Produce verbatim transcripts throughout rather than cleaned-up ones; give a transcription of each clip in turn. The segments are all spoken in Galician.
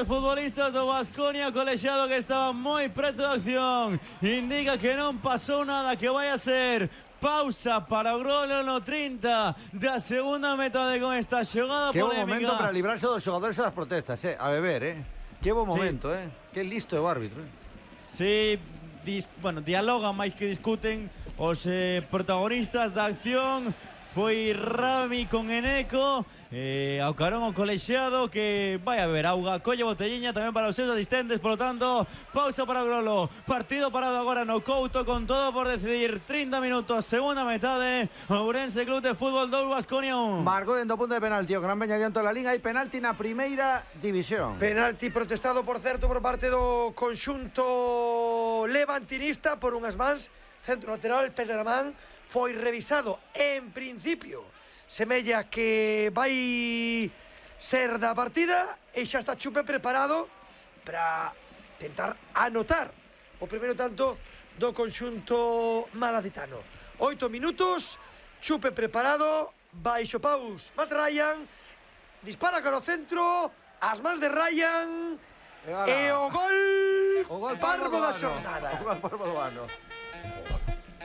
Futbolistas do Baskonia, colexiado que estaba moi preto da acción, indica que non pasou nada, que vai a ser pausa para o Grolo no trinta da segunda metade con esta xogada que polémica. Que bo momento para librarse dos xogadores das protestas, eh? A beber, eh? Que bo momento, sí. eh? Que listo é o árbitro, eh? Sí, dis, bueno, dialogan máis que discuten os eh, protagonistas da acción. Foi Rami con Eneco, eh, ao carón o colexiado que vai a ver auga, colle botelliña tamén para os seus asistentes, polo tanto, pausa para o Grolo, partido parado agora no Couto con todo por decidir, trinta minutos, segunda metade, Ourense Club de Fútbol dous, Baskonia un. Marcou dentro punto de penalti, o Gran Peña diante da liga, hai penalti na primeira división. Penalti protestado, por certo, por parte do conxunto levantinista por unhas mans, centro lateral, Pedro Amán, foi revisado, en principio semella que vai ser da partida e xa está Chupe preparado para tentar anotar o primeiro tanto do conxunto malacitano. Oito minutos, Chupe preparado, baixo paus Matt Ryan, dispara cara ao centro, as mans de Ryan e, e o gol, o gol parvo da xornada. O gol parvo do ano.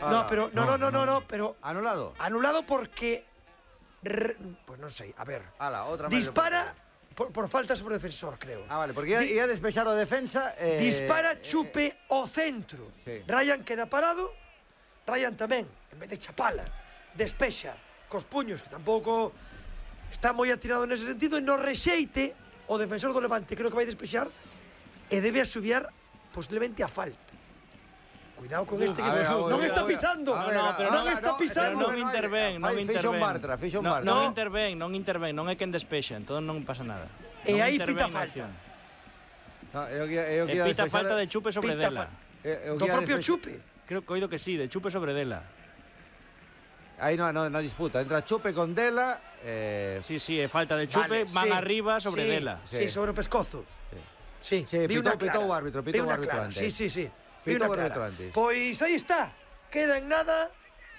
No, pero no, no, no, no, no, pero anulado. Anulado porque re, pues non sei, a ver. Ala, outra dispara por, por falta sobre o defensor, creo. Ah, vale, porque ia, Di, ia despexar o defensa eh, dispara Chupe eh, o centro. Sí. Ryan queda parado. Ryan tamén, en vez de chapala, despexa cos puños, que tampouco está moi atirado nese sentido, e no rexeite o defensor do Levante, creo que vai despexar e debe asubiar posiblemente a falta. Cuidado con este que ver, non, non está pisando. A ver, no, no, pero non está pisando. Non interven, non interven. Fixo un Bartra, fixo un Bartra. Non interven, non interven, non é quen despexa, entón non pasa nada. E aí pita falta. No, eu, eu, eu, e pita falta de Chupe sobre Dela. Eu, eu Do propio Chupe. Creo que oído que sí, de Chupe sobre Dela. Aí no, no, na disputa, entra Chupe con Dela eh... Sí, sí, é falta de Chupe, vale, van sí, arriba sobre sí, Dela. Sí, sí, sobre o pescozo. Sí, sí, sí pitou, pitou o árbitro, pitou o árbitro antes. Sí, sí, sí. Pitou o árbitro antes. Pois aí está, queda en nada,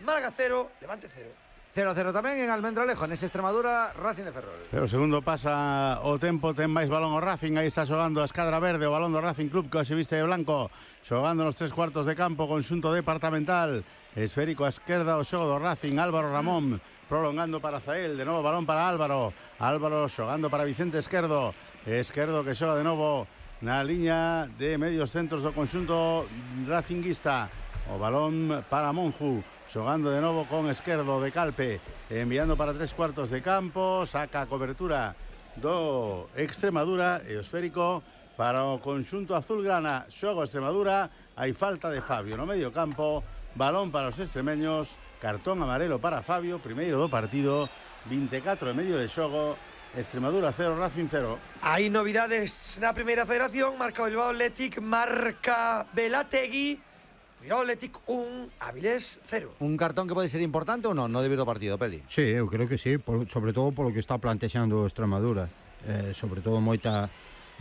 Málaga cero, Levante cero. cero cero tamén en Almendralejo, nese Extremadura, Racing de Ferrol. Pero segundo pasa o tempo, ten máis balón o Racing, aí está xogando a escadra verde, o balón do Racing Club que se viste de blanco, xogando nos tres cuartos de campo, conxunto departamental, esférico a esquerda, o xogo do Racing, Álvaro Ramón, prolongando para Zael, de novo balón para Álvaro, Álvaro xogando para Vicente Esquerdo, Esquerdo que xoga de novo na liña de medios centros do conxunto racinguista, o balón para Monju, xogando de novo con Esquerdo de Calpe, enviando para tres cuartos de campo, saca a cobertura do Extremadura e o esférico para o conxunto azulgrana, xogo Extremadura, hai falta de Fabio no medio campo, balón para os extremeños, cartón amarelo para Fabio, primeiro do partido, vinte e catro e medio de xogo, Extremadura cero, Racing cero. Hai novidades na primeira federación, marca o Bilbao Athletic, marca Velategui, Bilbao Athletic un, Avilés cero. Un cartón que pode ser importante ou non, no debido ao partido, Peli? Sí, eu creo que sí, por, sobre todo polo que está plantexando Extremadura, eh, sobre todo moita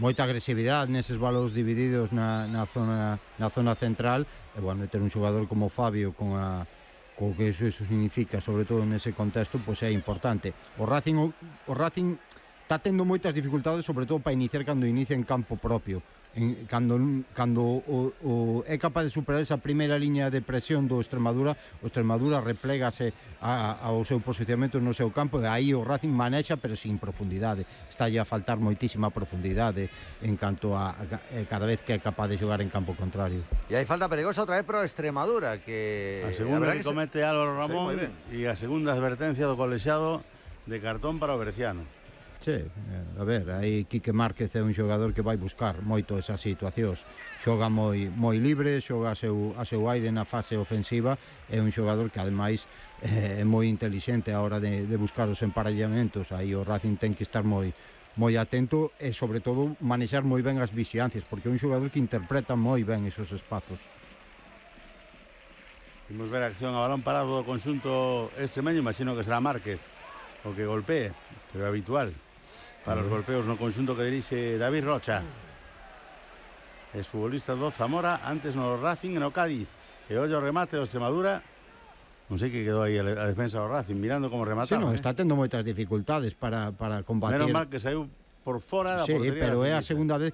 moita agresividade neses balóns divididos na, na, zona, na zona central, e bueno, ter un xogador como Fabio con a co que eso, eso significa, sobre todo nese contexto, pois é importante. O Racing o, o Racing está tendo moitas dificultades, sobre todo para iniciar cando inicia en campo propio. En, cando cando o, o, é capaz de superar esa primeira liña de presión do Extremadura, o Extremadura replégase a, a, ao seu posicionamento no seu campo, e aí o Racing manexa, pero sin profundidade. Está a faltar moitísima profundidade en canto a, a cada vez que é capaz de xogar en campo contrario. E hai falta perigosa outra vez pro Extremadura, que a segunda a que, que comete se... Álvaro Ramón, sí, e a segunda advertencia do colexiado de cartón para o Berciano. Sí, a ver, aí Quique Márquez é un xogador que vai buscar moito esas situacións. Xoga moi moi libre, xoga a seu, a seu aire na fase ofensiva, é un xogador que ademais é moi intelixente a hora de, de buscar os emparellamentos. Aí o Racing ten que estar moi moi atento e sobre todo manexar moi ben as vixiancias, porque é un xogador que interpreta moi ben esos espazos. Vimos ver a acción a balón parado do conxunto extremeño, imagino que será Márquez o que golpee, pero é habitual para os golpeos no conxunto que dirixe David Rocha. Es futbolista do Zamora, antes no Racing e no Cádiz. E ollo o remate do Extremadura. Non sei que quedou aí a defensa do Racing, mirando como remataron. Sí, no, eh? está tendo moitas dificultades para, para combatir. Menos mal que saiu por fora da Sí, portería pero é a da Civita. segunda vez